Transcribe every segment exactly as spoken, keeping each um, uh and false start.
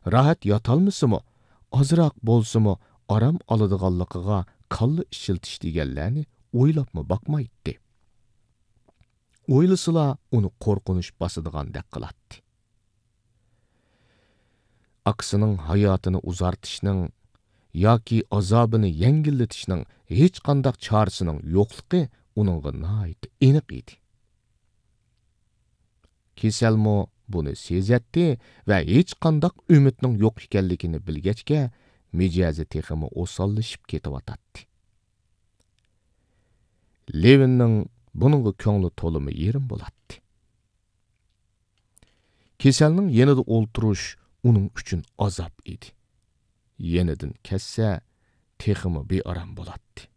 راھەت ياتالمىسىمۇ، ئازراق بولسىمۇ ئارام ئالىدىغانلىقىغا كاللا ئىشلىتىش دېگەنلەرنى ئويلاپمۇ باقمايتتى. ئويلىسىلا ئۇنى قورقۇنچ باسىدىغاندەك قىلاتتى. ئاكىسىنىڭ ھاياتىنى ئۇزارتىشنىڭ ياكى ئازابىنى يەڭگىللىتىشنىڭ ھېچقانداق چارىسىنىڭ يوقلۇقى ئۇنىڭغا ناھايىتى ئېنىق ئىدى. كېسەلمۇ بۇنى سېزەتتى ۋە ھېچقانداق ئۈمىدنىڭ يوق ئىكەنلىكىنى بىلگەچكە، مىجەزى تېخىمۇ ئوساللىشىپ كېتىۋاتاتتى. لېۋىننىڭ بۇنىڭغا كۆڭلى تولىمۇ يېرىم بولاتتى. كېسەلنىڭ يېنىدا ئولتۇرۇش ئۇنىڭ ئۈچۈن ئازاب ئىدى. يېنىدىن كەتسە، تېخىمۇ بىئارام بولاتتى.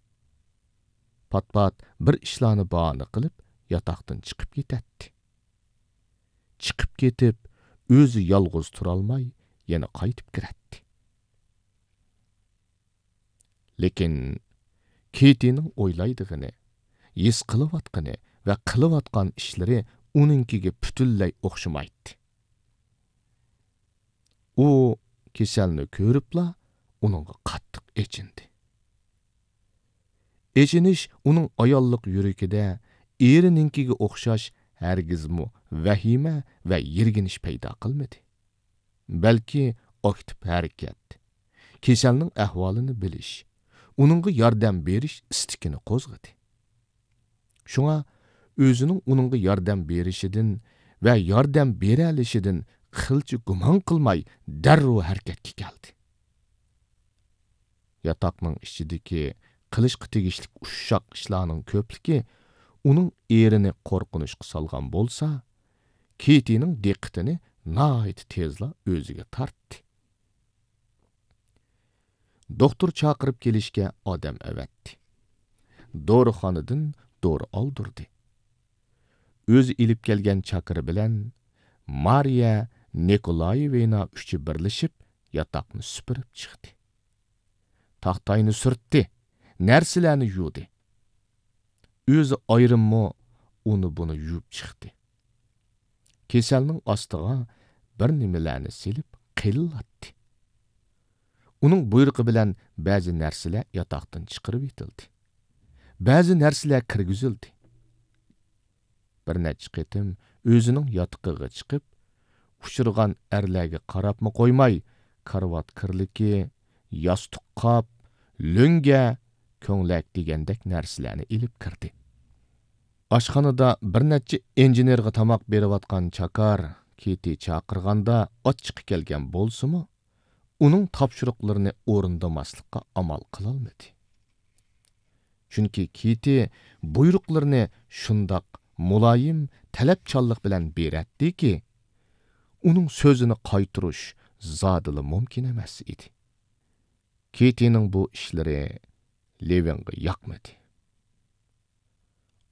پات-پات بىر ئىشلارنى باھانە قىلىپ، ياتاقتىن چىقىپ كېتەتتى. چىقىپ كېتىپ، ئۆزى يالغۇز تۇرالماي، يەنە قايتىپ كىرەتتى. لېكىن كېتىنىڭ ئويلايدىغىنى، ھېس قىلىۋاتقىنى ۋە قىلىۋاتقان ئىشلىرى ئۇنىڭكىگە پۈتۈنلەي ئوخشىمايتتى. ئۇ كېسەلنى كۆرۈپلا ئۇنىڭغا قاتتىق ئېچىندى. ئېچىنىش ئۇنىڭ ئاياللىق يۈرىكىدە ئېرىنىڭكىگە ئوخشاش ھەرگىزمۇ ۋەھىمە ۋە يىرگىنىش پەيدا قىلمىدى. بەلكى ئاكتىپ ھەرىكەت، كېسەلنىڭ ئەھۋالىنى بىلىش، ئۇنىڭغا ياردەم بېرىش ئىستىكىنى قوزغىدى. شۇڭا ئۆزىنىڭ ئۇنىڭغا ياردەم بېرىشىدىن ۋە ياردەم بېرەلىشىدىن قىلچە گۇمان قىلماي، دەررۇ ھەرىكەتكە كەلدى. ياتاقنىڭ ئىچىدىكى قىلىشقا تېگىشلىك ئۇششاق ئىشلارنىڭ كۆپلۈكى ئۇنىڭ ئېرىنى قورقۇنچقا سالغان بولسا، كېتىنىڭ دىققىتىنى ناھايىتى تېزلا ئۆزىگە تارتتى. دوختۇر چاقىرىپ كېلىشكە ئادەم ئەۋەتتى. دورىخانىدىن دورا ئالدۇردى. ئۆزى ئېلىپ كەلگەن چاكىرى بىلەن مارىيە نىكولايېۋنا ئۈچى بىرلىشىپ ياتاقنى سۈپۈرۈپ چىقتى. تاختاينى سۈرتتى، نەرسىلەرنى يۇدى. ئۆزى ئايرىممۇ ئۇنى بۇنى يۇيۇپ چىقتى. كېسەلنىڭ ئاستىغا بىر نېمىلەرنى سېلىپ قېلىلاتتى. ئۇنىڭ بۇيرۇقى بىلەن بەزى نەرسىلەر ياتاقتىن چىقىرىۋېتىلدى. بەزى نەرسىلەر كىرگۈزۈلدى. بىر نەچچە قېتىم ئۆزىنىڭ ياتىقىغا چىقىپ، ئۇچرىغان ئەرلەرگە قاراپمۇ قويماي، كارىۋات كىرلىكى، ياستۇق قاپ، لۆڭگە، كۆڭلەك دېگەندەك نەرسىلەرنى ئېلىپ كىردى. ئاشخانىدا بىر نەچچە ئىنژېنېرغا تاماق بېرىۋاتقان چاكار كېتى چاقىرغاندا ئاچچىقى كەلگەن بولسىمۇ، ئۇنىڭ تاپشۇرۇقلىرىنى ئورۇندىماسلىققا ئامال قىلالمىدى. چۈنكى كېتى بۇيرۇقلىرىنى شۇنداق مۇلايىم، تەلەپچانلىق بىلەن بېرەتتىكى، ئۇنىڭ سۆزىنى قايتۇرۇش زادىلا مۇمكىن ئەمەس ئىدى. كېتىنىڭ بۇ ئىشلىرى لېۋىنغا ياقمىدى.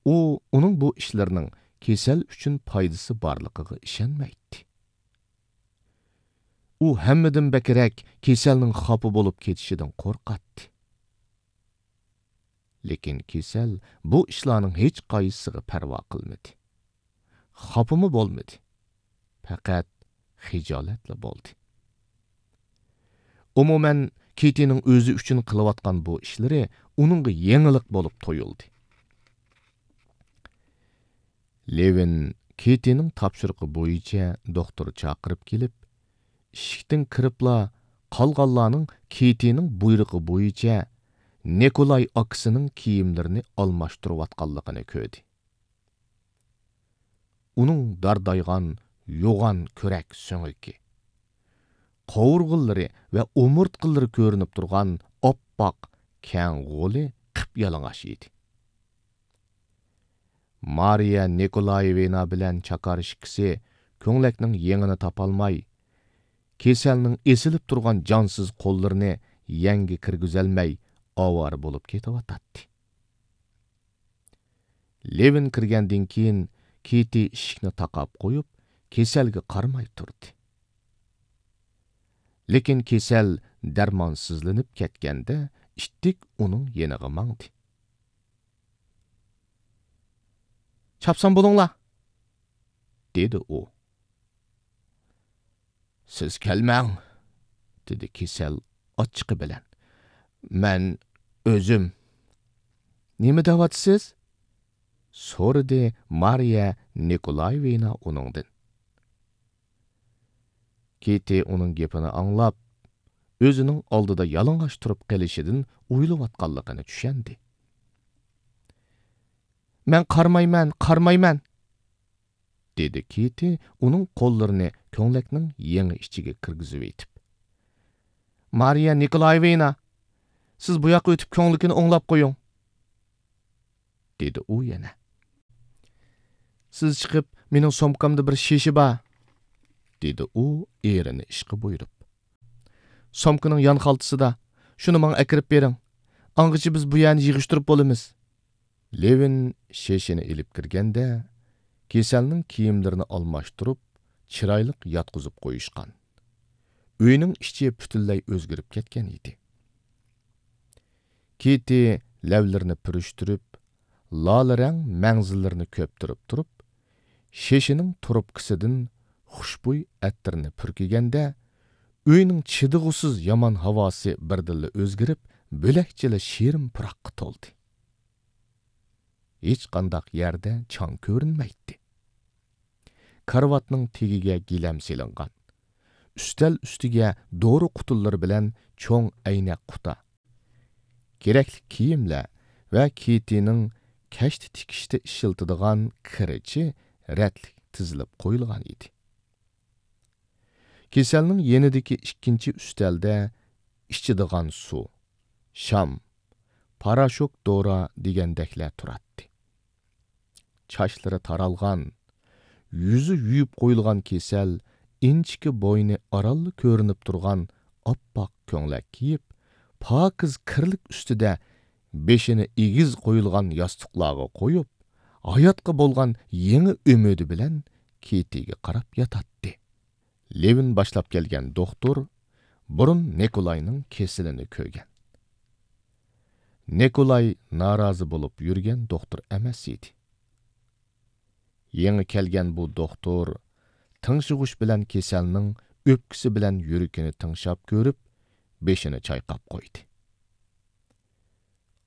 ئۇ ئۇنىڭ بۇ ئىشلىرىنىڭ كېسەل ئۈچۈن پايدىسى بارلىقىغا ئىشەنمەيتتى. ئۇ ھەممىدىن بەكرەك كېسەلنىڭ خاپا بولۇپ كېتىشىدىن قورقاتتى. لېكىن كېسەل بۇ ئىشلارنىڭ ھېچقايسىسىغا پەرۋا قىلمىدى. خاپىمۇ بولمىدى. پەقەت خىجالەتلا بولدى. ئومۇمەن، كېتىنىڭ ئۆزى ئۈچۈن قىلىۋاتقان بۇ ئىشلىرى ئۇنىڭغا يېڭىلىق بولۇپ تۇيۇلدى. لېۋىن كېتىنىڭ تاپشۇرۇقى بويىچە دوختۇر چاقىرىپ كېلىپ، ئىشىكتىن كىرىپلا قالغانلارنىڭ كېتىنىڭ بۇيرۇقى بويىچە نىكولاي ئاكىسىنىڭ كىيىملىرىنى ئالماشتۇرۇۋاتقانلىقىنى كۆردى. ئۇنىڭ داردايغان، يوغان كۆرەك سۆڭىكى، قوۋۇرغىلىرى ۋە ئومۇرتقىلىرى كۆرۈنۈپ تۇرغان ئاپئاق كەڭ غولى قىپيالىڭاچ ئىدى. مارىيە نىكولايېۋنا بىلەن چاكار ئىككىسى كۆڭلەكنىڭ يېڭىنى تاپالماي، كېسەلنىڭ ئېسىلىپ تۇرغان جانسىز قوللىرىنى يەڭگە كىرگۈزەلمەي ئاۋارە بولۇپ كېتىۋاتاتتى. لېۋىن كىرگەندىن كېيىن، كېتى ئىشىكنى تاقاپ قويۇپ، كېسەلگە قارىماي تۇردى. لېكىن كېسەل دەرمانسىزلىنىپ كەتكەندە، ئىتتىك ئۇنىڭ يېنىغا ماڭدى. «چاپسان بولۇڭلار!» دېدى ئۇ. «سىز كەلمەڭ!» دېدى كېسەل ئاچچىقى بىلەن. مەن ئۆزۈم. نېمە دەۋاتىسىز؟ سورىدى مارىيە نىكولايېۋنا ئۇنىڭدىن. كىتى ئۇنىڭ گېپىنى ئاڭلاپ، ئۆزىنىڭ ئالدىدا يالىڭاچ تۇرۇپ قېلىشىدىن ئويۇلۇۋاتقانلىقىنى چۈشەندى. مەن قارىمايمەن، قارىمايمەن! دېدى كىتى ئۇنىڭ قوللىرىنى كۆڭلەكنىڭ يېڭى ئىچىگە كىرگۈزۈۋېتىپ. مارىيە نىكولايېۋنا، سىز بۇ ياققا ئۆتۈپ كۆڭلىكىنى ئوڭلاپ قويۇڭ، دېدى ئۇ يەنە. سىز چىقىپ، مېنىڭ سومكامدا بىر شېشە بار، دېدى ئۇ ئېرىنى ئىشقا بۇيرۇپ. سومكىنىڭ يان خالتىسىدا، شۇنى ماڭا ئەكىرىپ بېرىڭ. ئاڭغىچە بىز بۇ يەرنى يىغىشتۇرۇپ بولىمىز. لېۋىن شېشىنى ئېلىپ كىرگەندە، كېسەلنىڭ كىيىملىرىنى ئالماشتۇرۇپ، چىرايلىق ياتقۇزۇپ قويۇشقان. ئۆينىڭ ئىچى پۈتۈنلەي ئۆزگىرىپ كەتكەن ئىدى. كىتى لەۋلىرىنى پۈرۈشتۈرۈپ، لالە رەڭ مەڭزىلىرىنى كۆپتۈرۈپ تۇرۇپ، شېشىنىڭ تۇرۇپكىسىدىن خۇشبۇي ئەتىرنى پۈركىگەندە، ئۆينىڭ چىدىغۇسىز يامان ھاۋاسى بىردىنلا ئۆزگىرىپ، بۆلەكچىلا شېرىن پۇراققا تولدى. ھېچقانداق يەردە چاڭ كۆرۈنمەيتتى. كارىۋاتنىڭ تېگىگە گىلەم سېلىنغان. ئۈستەل ئۈستىگە دورا قۇتىلىرى بىلەن چوڭ ئەينەك قۇتا، كېرەكلىك كىيىملەر ۋە كىتىنىڭ كەشتە تىكىشتە ئىشلىتىدىغان كىرىچى رەتلىك تىزىلىپ قويۇلغان ئىدى. كېسەلنىڭ يېنىدىكى ئىككىنچى ئۈستەلدە ئىچىدىغان سۇ، شام، پاراشوك دورا دېگەندەكلەر تۇراتتى. چاچلىرى تارالغان، يۈزى يۇيۇپ قويۇلغان كېسەل ئىنچىكە بوينى ئارانلا كۆرۈنۈپ تۇرغان ئاپئاق كۆڭلەك كىيىپ، پاكىز كىرلىك ئۈستىدە بېشىنى ئېگىز قويۇلغان ياستۇقلارغا قويۇپ، ھاياتقا بولغان يېڭى ئۈمىدى بىلەن كىتىگە قاراپ ياتاتتى. لېۋىن باشلاپ كەلگەن دوختۇر بۇرۇن نىكولاينىڭ كېسىلىنى كۆرگەن. نىكولاي نارازى بولۇپ يۈرگەن دوختۇر ئەمەس ئىدى. يېڭى كەلگەن بۇ دوختۇر تىڭشىغۇچ بىلەن كېسەلنىڭ ئۆپكىسى بىلەن يۈرىكىنى تىڭشاپ كۆرۈپ، بېشىنى چايقاپ قويدى.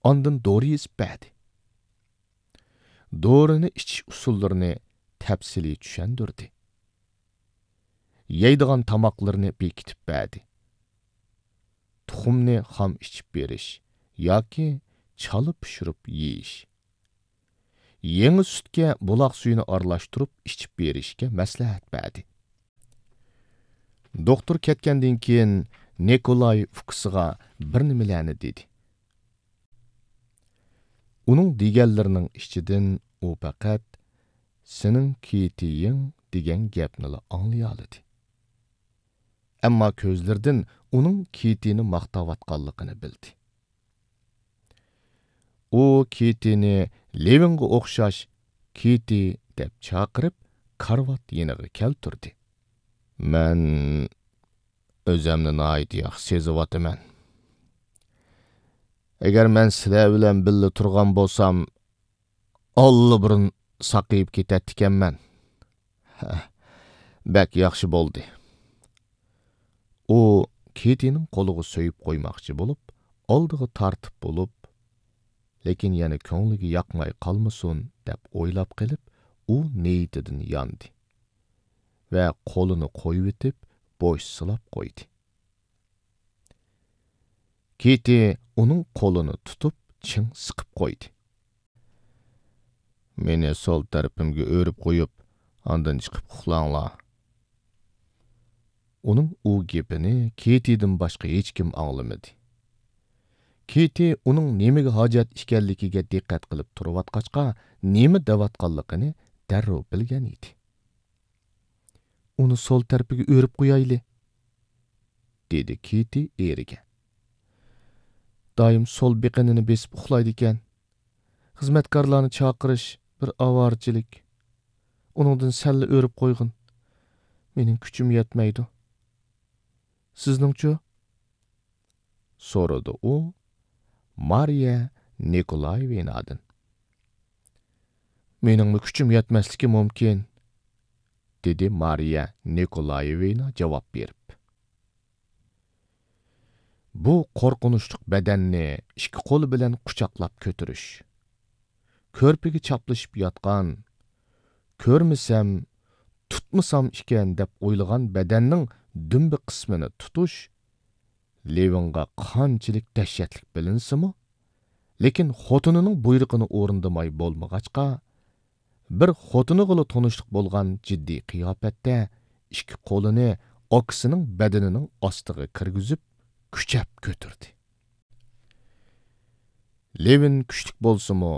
ئاندىن دورا يېزىپ بەردى. دورىنى ئىچىش ئۇسۇللىرىنى تەپسىلىي چۈشەندۈردى. يەيدىغان تاماقلىرىنى بېكىتىپ بەردى. تۇخۇمنى خام ئىچىپ بېرىش ياكى چالا پىشۇرۇپ يېيىش، يېڭى سۈتكە بۇلاق سۈيىنى ئارىلاشتۇرۇپ ئىچىپ بېرىشكە مەسلىھەت بەردى. دوختۇر كەتكەندىن كېيىن نىكولاي ئۇكىسىغا بىر نېمىلەرنى دېدى. ئۇنىڭ دېگەنلىرىنىڭ ئىچىدىن ئۇ پەقەت «سېنىڭ كىتىيىڭ» دېگەن گەپنىلا ئاڭلىيالىدى. ئەمما كۆزلىرىدىن ئۇنىڭ كىتىنى ماختاۋاتقانلىقىنى بىلدى. ئۇ كىتىنى لېۋىنغا ئوخشاش «كىتى» دەپ چاقىرىپ، كارىۋات يېنىغا كەلتۈردى. مەن ئۆزەمنى ناھايىتى ياخشى سېزىۋاتىمەن. ئەگەر مەن سىلەر بىلەن بىللە تۇرغان بولسام، ئاللىبۇرۇن ساقىيىپ كېتەتتىكەنمەن. ھە، بەك ياخشى بولدى. ئۇ كىتىنىڭ قولىغا سۆيۈپ قويماقچى بولۇپ، ئالدىغا تارتىپ بولۇپ، لېكىن يەنە كۆڭلىگە ياقماي قالمىسۇن دەپ ئويلاپ قېلىپ، ئۇ نىيىتىدىن ياندى ۋە قولىنى قويۇۋېتىپ، بوش سىلاپ قويدى. كىتى ئۇنىڭ قولىنى تۇتۇپ، چىڭ سىقىپ قويدى. مېنى سول تەرىپىمگە ئۆرۈپ قويۇپ، ئاندىن چىقىپ ئۇخلاڭلار. ئۇنىڭ ئۇ گېپىنى كىتىدىن باشقا ھېچكىم ئاڭلىمىدى. كىتى ئۇنىڭ نېمىگە ھاجەت ئىكەنلىكىگە دىققەت قىلىپ تۇرۇۋاتقاچقا، نېمە دەۋاتقانلىقىنى دەررۇ بىلگەن ئىدى. ئۇنى سول تەرىپىگە ئۆرۈپ قويايلى، دېدى كىتى ئېرىگە. دائىم سول بېقىنىنى بېسىپ ئۇخلايدىكەن. خىزمەتكارلارنى چاقىرىش بىر ئاۋارىچىلىك. ئۇنىڭدىن سەللا ئۆرۈپ قويغىن. مېنىڭ كۈچۈم يەتمەيدۇ. سىزنىڭچۇ؟ سورىدى ئۇ مارىيە نىكولايېۋنادىن. مېنىڭمۇ كۈچۈم يەتمەسلىكى مۇمكىن، دېدى مارىيە نىكولايېۋنا جاۋاب بېرىپ. بۇ قورقۇنچلۇق بەدەننى ئىككى قولى بىلەن قۇچاقلاپ كۆتۈرۈش، كۆرپىگە چاپلىشىپ ياتقان، كۆرمىسەم، تۇتمىسام ئىكەن دەپ ئويلىغان بەدەننىڭ دۈمبە قىسمىنى تۇتۇش لېۋىنغا قانچىلىك دەھشەتلىك بىلىنسىمۇ، لېكىن خوتۇنىنىڭ بۇيرۇقىنى ئورۇندىماي بولمىغاچقا، بىر خوتۇنىغىلا تونۇشلۇق بولغان جىددىي قىياپەتتە ئىككى قولىنى ئاكىسىنىڭ بەدىنىنىڭ ئاستىغا كىرگۈزۈپ، كۈچەپ كۆتۈردى. لېۋىن كۈچلۈك بولسىمۇ،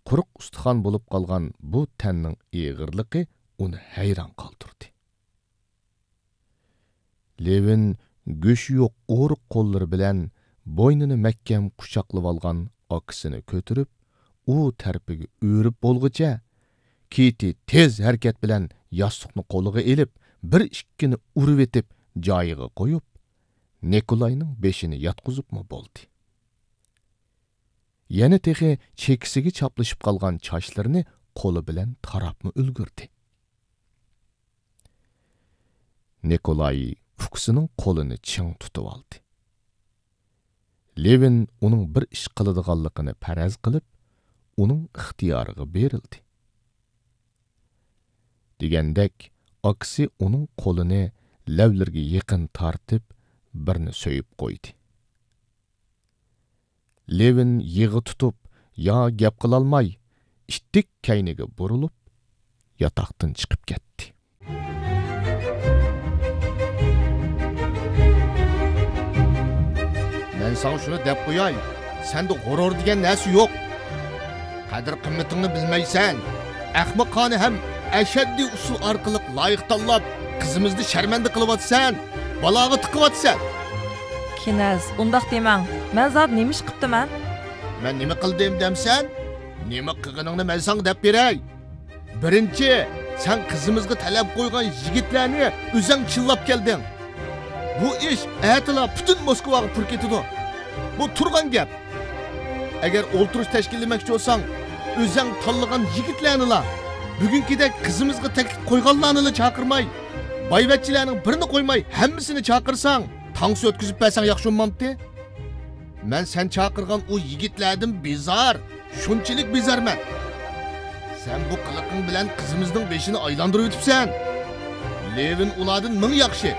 قۇرۇق ئۇستىخان بولۇپ قالغان بۇ تەننىڭ ئېغىرلىقى ئۇنى ھەيران قالدۇردى. لېۋىن گۆشى يوق ئورۇق قوللىرى بىلەن بوينىنى مەھكەم قۇچاقلىۋالغان ئاكىسىنى كۆتۈرۈپ، ئۇ تەرىپىگە ئۆرۈپ بولغۇچە، كېتى تېز ھەرىكەت بىلەن ياستۇقنى قولىغا ئېلىپ، بىر ئىككىنى ئۇرۇۋېتىپ جايىغا قويۇپ، نىكولاينىڭ بېشىنى ياتقۇزۇپمۇ بولدى. يەنە تېخى چېكىسىگە چاپلىشىپ قالغان چاچلىرىنى قولى بىلەن تاراپمۇ ئۈلگۈردى. نىكولاي ئۇكىسىنىڭ قولىنى چىڭ تۇتۇۋالدى. لېۋىن ئۇنىڭ بىر ئىش قىلىدىغانلىقىنى پەرەز قىلىپ، ئۇنىڭ ئىختىيارىغا بېرىلدى. دېگەندەك، ئاكىسى ئۇنىڭ قولىنى لەۋلىرىگە يېقىن تارتىپ، بىرنى سۆيۈپ قويدى. لېۋىن يىغا تۇتۇپ، يا گەپ قىلالماي، ئىتتىك كەينىگە بۇرۇلۇپ، ياتاقتىن چىقىپ كەتتى. مەن ساڭا شۇنى دەپ قوياي، سەندە غۇرۇر دېگەن نەرسە يوق. قەدىر-قىممىتىڭنى بىلمەيسەن. ئەخمىقانە ھەم ئەشەددىي ئۇسۇل ئارقىلىق لايىق تاللاپ، قىزىمىزنى شەرمەندە قىلىۋاتىسەن، بالاغا تىقىۋاتىسەن. كىنەز، ئۇنداق دېمەڭ. مەن زادى نېمە ئىش قىپتىمەن؟ مەن نېمە قىلدىم دەمسەن؟ نېمە قىلغىنىڭنى مەن ساڭا دەپ بېرەي. بىرىنچى، سەن قىزىمىزغا تەلەپ قويغان يىگىتلەرنى ئۆزەڭ چىللاپ كەلدىڭ. بۇ ئىش ئەتىلا پۈتۈن موسكۋاغا پۇر كېتىدۇ. بۇ تۇرغان گەپ. ئەگەر ئولتۇرۇش تەشكىللىمەكچى بولساڭ، ئۆزەڭ تاللىغان يىگىتلەرنىلا، بۈگۈنكىدەك قىزىمىزغا تەكلىپ قويغانلارنىلا چاقىرماي، بايۋەچچىلەرنىڭ بىرىنى قويماي ھەممىسىنى چاقىرساڭ، تانسا ئۆتكۈزۈپ بەرسەڭ ياخشى بولمامتى؟ مەن سەن چاقىرغان ئۇ يىگىتلەردىن بىزار، شۇنچىلىك بىزارمەن. سەن بۇ قىلىقىڭ بىلەن قىزىمىزنىڭ بېشىنى ئايلاندۇرۇۋېتىپسەن. لېۋىن ئۇلاردىن مىڭ ياخشى.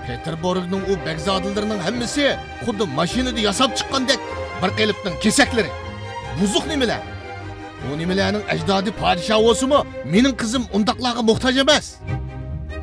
پېتېربۇرگنىڭ ئۇ بەگزادىلىرىنىڭ ھەممىسى خۇددى ماشىنىدا ياساپ چىققاندەك بىر قېلىپنىڭ كېسەكلىرى. بۇزۇق نېمىلەر؟ ئۇ نېمىلەرنىڭ ئەجدادى پادىشاھ بولسىمۇ، مېنىڭ قىزىم ئۇنداقلارغا موھتاج ئەمەس.